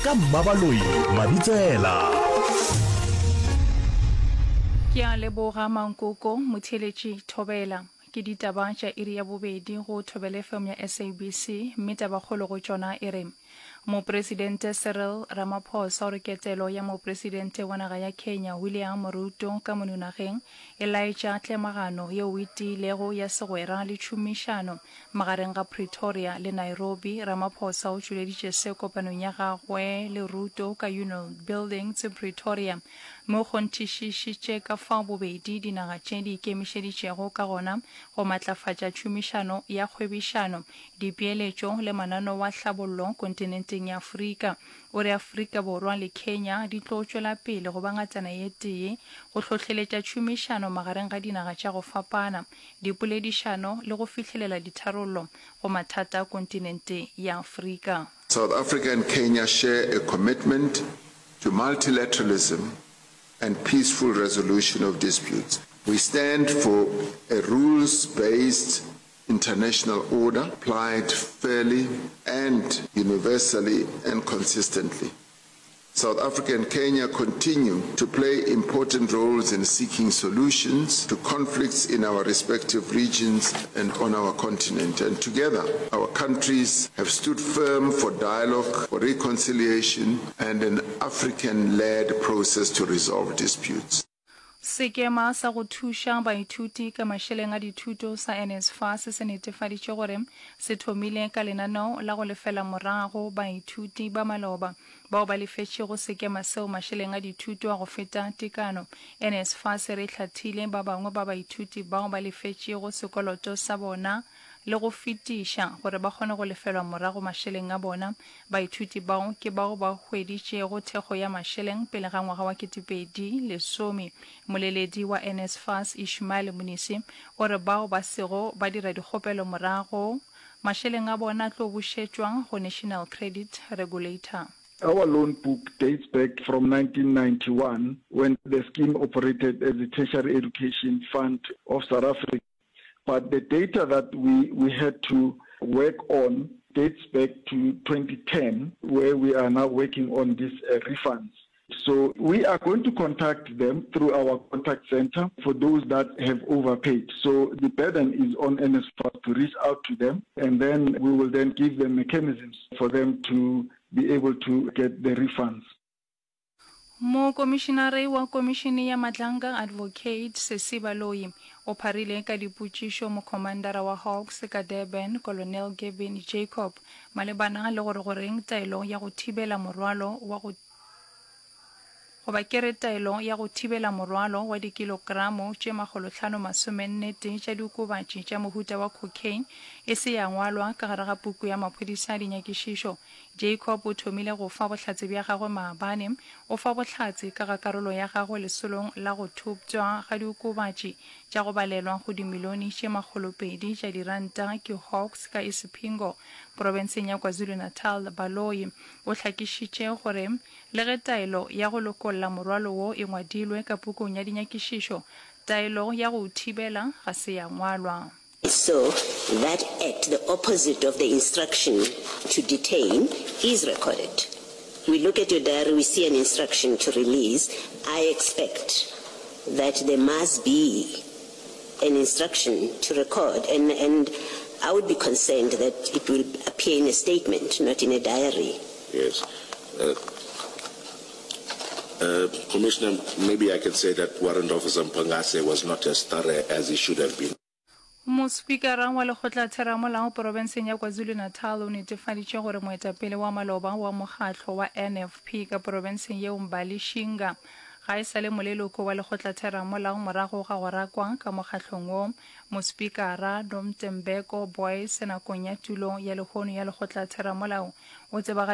ka Mmabaloi Mabitsela. Ke a leboga Mankoko, motheeletši Thobela. Ke ditaba tša iri ya bobedi go Thobela FM ya SABC, mme tabakgolo go tšona e re, Mopresidente Cyril Ramaphosa o re ketelo ya Mopresidente wa naga ya Kenya William Ruto ka mono nageng e laetša tlemagano yeo e tiilego ya segwera le tšhomišano magareng ga Pretoria le Nairobi. Ramaphosa o tšweleditše se kopanong ya gagwe le Ruto ka Union Buildings Pretoria mme o kgonthišišitše ka fao bobedi dinaga tše di ikemišeditšego ka gona go matlafatša tšhomišano ya kgwebišano dipeeletšo le mananeo a hlabollo kontinenteng ya Afrika. O re Afrika Borwa le Kenya di tlo tšwela pele go ba ngatana ye tee go hlohleletša tšhomišano magareng ga dinaga tša go fapana, dipoledišano le go fihlelela ditharollo go mathata a kontinente ya Afrika. South Africa and Kenya share a commitment to multilateralism and peaceful resolution of disputes. We stand for a rules-based international order applied fairly and universally and consistently. South Africa and Kenya continue to play important roles in seeking solutions to conflicts in our respective regions and on our continent. And together, our countries have stood firm for dialogue, for reconciliation, and an African-led process to resolve disputes. Sekema sa go thuša baithuti ka mašeleng a dithuto sa NSFAS se netefaditše gore se thomile ka lenaneo la go lefela morago baithuti ba maloba bao ba lefetšego sekema seo mašeleng a dithuto a go feta tekano. NSFAS e re e hlathile ba bangwe ba baithuti bao ba lefetšego sekoloto sa bona le go fetiša gore ba kgone go lefelwa morago mašeleng a bona. Baithuti bao ke bao ba hweditšego thekgo ya mašeleng pele ga ngwaga wa 2010. Moleledi wa NSFAS Ishmael Mnisi o re bao ba sego ba dira dikgopelo morago, mašeleng a bona a tlo bušetšwa go National Credit Regulator. Our loan book dates back from 1991 when the scheme operated as the Tertiary Education Fund of South Africa. But the data that we, we had to work on dates back to 2010, where we are now working on these uh, refunds. So we are going to contact them through our contact center for those that have overpaid. So the burden is on NSFAS to reach out to them, and then we will then give them mechanisms for them to be able to get the refunds. Mokomišinare wa Komišene ya Matlanga Advocate Sesi Baloyi o pharile ka dipotšišo mokhomandara wa Hawks ka Durban Colonel Gavin Jacob malebana le gore goreng taelo ya go thibela morwalo wa go goba ke re taelo ya go thibela morwalo wa dikilokramo tše makgolohlano masomennetee tša diokobatši tša mohuta wa cocaine e se ya ngwalwa ka gare ga puku ya maphodisa a dinyakišišo Jacob o thomile go fa bohlatse bja gagwe maabane. O fa bohlatse ka ga karolo ya gagwe lesolong la go thoptšwa ga diokobatši tša go balelwa go dimilione tše makgolopedi tša diranta ke Hawks ka Isipingo, profenseng ya KwaZulu-Natal. Baloyi o hlakišitše gore le ge taelo ya go lokolla morwalo wo e ngwadilwe ka pukung ya dinyakišišo, taelo ya go o thibela ga se ya ngwalwa. So that act, the opposite of the instruction to detain, is recorded. We look at your diary, we see an instruction to release. I expect that there must be an instruction to record, and, and I would be concerned that it will appear in a statement, not in a diary. Yes. Uh, uh, Commissioner, maybe I can say that Warrant Officer Mpangase was not as thorough as he should have been. Mospikara wa Lekgotlatheramolao porofenseng ya KwaZulu-Natal o netefaditše gore moetapele wa maloba wa mokgatlo wa NFP ka porofenseng yeo Mbali Shinga ga e sa le moleloko wa Lekgotlatheramolao morago ga go rakwa ka mokgatlong wo. Mospikara Nomtembeko Boyce nakong ya tulo ya lehono ya Lekgotlatheramolao o tsebagaditše.